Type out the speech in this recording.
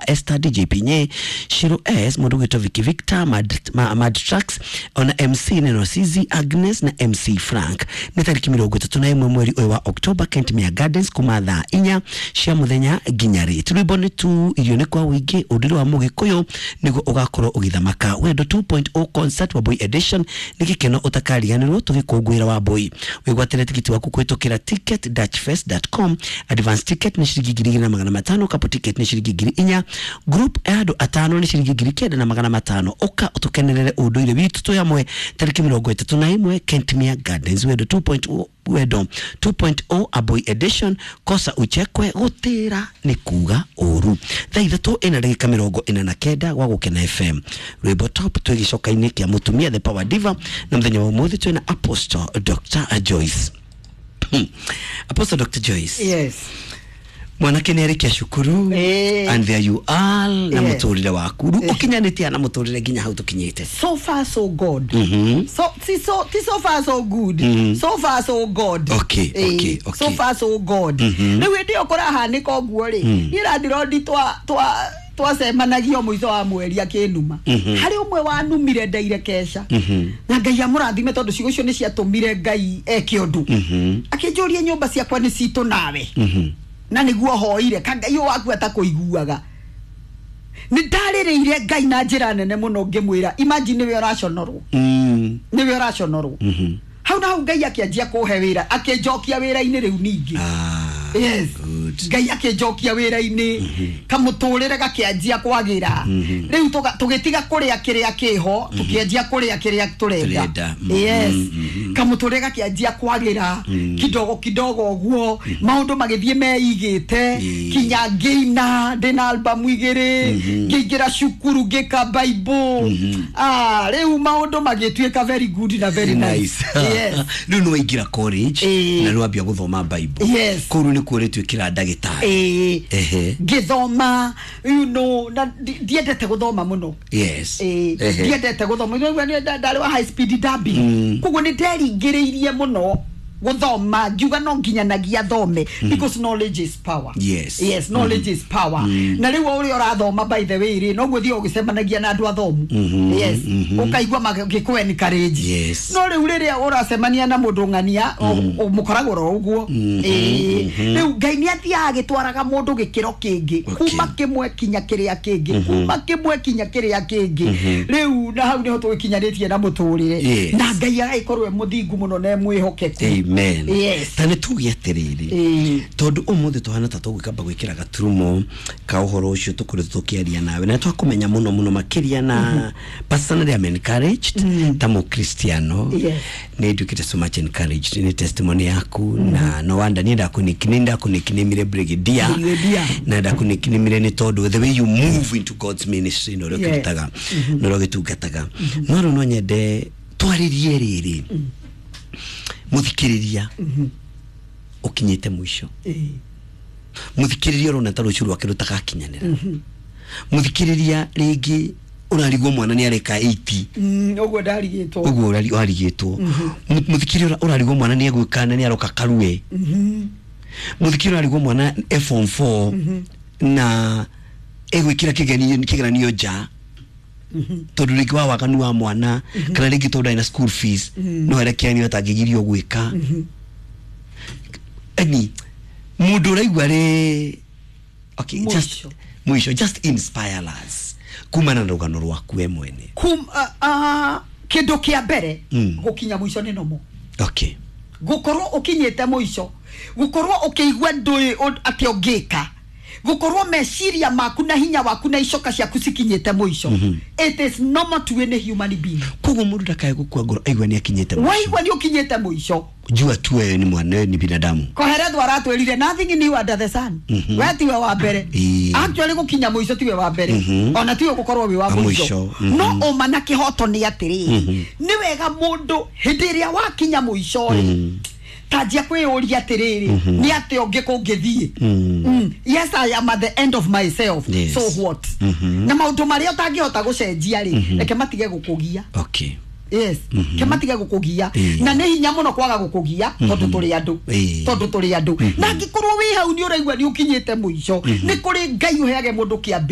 wa Esther, DJ Pinye, Shiro S, mundu gwitwo Vicky Victor, Mad Tracks, ona MC Neno Sizi Agnes na MC Frank. Nĩ tarĩki 31 mweri ũyũ wa October, Kentmere Gardens, kuma thaa 4 cia mũthenya nginya rĩ. Rwĩmbo nĩ tu, irio nĩ kwa wĩingĩ, ũndũire wa Mũgĩkũyũ nĩguo ũgakorwo ũgĩthamaka. Wendo 2.0 concert Wambui edition nĩ gĩkeno ũtakariganĩrwo tũgĩkũngũĩra Wambui. Wĩgwatĩre tigiti waku kũhĩtũkĩra ticket-fest.com. Advance ticket nĩ ciringi 2500, couple ticket nĩ ciringi 4000, group ya andũ atano nĩ ciringi 9500. Ũka ũtũkenerere ũndũire witũ twĩ hamwe tarĩki 31 Kentmere Gardens. Wendo 2.0, Wendo 2.0 Aboi edition, kosa uchekwe, gutira nĩ kuga ũru. Thaa 3 ĩna ndagĩka 49 gwa Gũkena FM, rwĩmbo top twĩ gĩcoka-inĩ kĩa mũtumia the power diva, na mũthenya wa ũmũthĩ twĩna Apostle Dr Joyce. Apostle Dr Joyce. Yes. Mwanake nĩ arĩkia cukuru and there you are na mũtũrĩre waku rĩu ũkinyanĩtie na mũtũrĩre nginya hau tũkinyĩte. So far so good. So ti so ti so far so good. So far so god. So far so god. Rĩu hĩndĩ ĩyo kũrahanĩka ũguo rĩ, niĩ randirondi twa twa twacemanagio mũico wa mweri akĩnuma. Harĩ ũmwe wanumire ndaire keca, na Ngai amũrathime tondũ ciugo icio nĩ ciatũmire Ngai eke ũndũ. Akĩnjũria nyũmba ciakwa nĩ citũ nawe, na nĩguo hoire ka Ngai ũyũ waku atakũiguaga. Nĩ ndarĩrĩire Ngai na njĩra nene mũno ngĩmwĩra, imagine nĩwe ũraconorwo, nĩwe ũraconorwo. Hau na hau Ngai akĩanjia kũhe wĩra, akĩnjokia wĩra-inĩ rĩu ningĩ. Yes. Good. Ngai akĩnjokia wĩra-inĩ, kamũtũrĩre gakĩanjia kwagĩra. Rĩu tũgĩtiga kũrĩa kĩrĩa kĩho, tũkĩanjia kũrĩa kĩrĩa tũrenda. Tũrenda. Yes, kamũtũrĩre gakĩanjia kwagĩra kidogo kidogo ũguo, maũndũ magĩthiĩ meigĩte, kinya ngĩina ndĩna albamu 2, ngĩingĩra cukuru ngĩka Bible. Ah, rĩu maũndũ magĩtuĩka very good na very nice. Yes. Rĩu nĩ waingĩra college na nĩ wambia gũthoma Bible. Yes. Kũu rĩu nĩ kuo ũrĩtuĩkĩra ndagĩtarĩ. Ĩĩ. Ngĩthoma, na ndiendete gũthoma mũno. Ĩĩ, ndiendete gũthoma. Nĩ ndarĩ wa high speed dubbing, koguo nĩ nderingĩrĩirie mũno gũthoma, ngiuga no nginyanagia thome because knowledge is power. Yes, knowledge is power. Na rĩu o ũrĩa ũrathoma, by the way rĩ, noguo ũthiaga ũgĩcemanagia na andũ athomu. Yes, ũkaigua magĩkũ encourage. No rĩu rĩrĩa ũracemania na mũndũ ng'ania, mũkoragwo oro ũguo. Ĩĩ. Rĩu Ngai nĩ athiaga agĩtwaraga mũndũ gĩkĩro kĩngĩ, kuma kĩmwe kinya kĩrĩa kĩngĩ, kuma kĩmwe kinya kĩrĩa kĩngĩ. Rĩu na hau nĩho tũgĩkinyanĩtie na mũtũrĩre, na Ngai agagĩkorwo e mũthingu mũno na e mwĩhokeku. Amen. Yes. Ta nĩ tuge atĩrĩrĩ, tondũ ũmũthĩ tũhana ta tũgwĩkamba gwĩkĩra gaturumo ka ũhoro ũcio tũkoretwo tũkĩaria nawe, na twakũmenya mũno mũno makĩria, na personally I'm encouraged ta mũkristiano. Nĩ nduĩkĩte so much encouraged nĩ testimony yaku, na no wonder niĩ ndakũnicknamire Brigadier. Brigadier. Na ndakũnicknamire nĩ tondũ the way you move into God's ministry na ũrĩa ũkĩrutaga na ũrĩa ũgĩtungataga. No rĩu no nyende twarĩrie rĩrĩ mũthikĩrĩria ũkinyĩte mũico, mũthikĩrĩria ũrona ta rũciũ rwake rũtagakinyanĩra, mũthikĩrĩria rĩngĩ ũrarigwo mwana nĩ areka 80. Ũguo ndarigĩtwo. Ũguo warigĩtwo. Mũthikĩrĩria ũrarigwo mwana nĩ egwĩka na nĩ aroka karue, mũthikĩrĩria ũrarigwo mwana e form 4 na egwĩkĩra kĩgeranio nja, tondũ rĩngĩ wa waganu wa mwana, kana rĩngĩ tondũ ndarĩ na school fees, no harĩa kĩgeranio atangĩgirio gwĩka. Ani mũndũ ũraigua rĩ, okay, just Mũico. mũico, just inspire us kumana na rũgano rwaku we mwene. Kum, kĩndũ kĩa mbere, gũkinya mũico nĩ nomo. Gũkorwo ũkinyĩte mũico, gũkorwo ũkĩigua ndũĩ atĩ ũngĩka, gũkorwo meciria maku na hinya waku na icoka ciaku cikinyĩte mũico, it is normal to any human being. Koguo mũndũ ndakae gũkua ngoro aigua nĩ akinyĩte mũico. Waigua nĩ ũkinyĩte mũico, jua tu wewe ni mwana, wewe ni binadamu. Koheretho aratwĩrire nothing new under the sun. We tiwe wa mbere. Actually gũkinya mũico tiwe wa mbere, ona tiwe gũkorwo wĩ wa Wa mũico. mũico, No ũma na kĩhoto nĩ atĩrĩrĩ, nĩ wega mũndũ hĩndĩ ĩrĩa wakinya mũico rĩ, tanjia kwĩyũria atĩrĩrĩ, nĩ atĩa ũngĩ kũngĩthiĩ? Yes, I am at the end of myself. So what? Na maũndũ marĩa ũtangĩhota gũcenjia rĩ, reke matige gũkũgia. Yes, ke matige gũkũgia. Na nĩ hinya mũno kwaga gũkũgia tondũ tũrĩ andũ. Tondũ tũrĩ andũ, na angĩkorwo wĩ hau nĩ ũraigua nĩ ũkinyĩte mũico, nĩ kũrĩ Ngai ũheage mũndũ kĩambĩrĩria.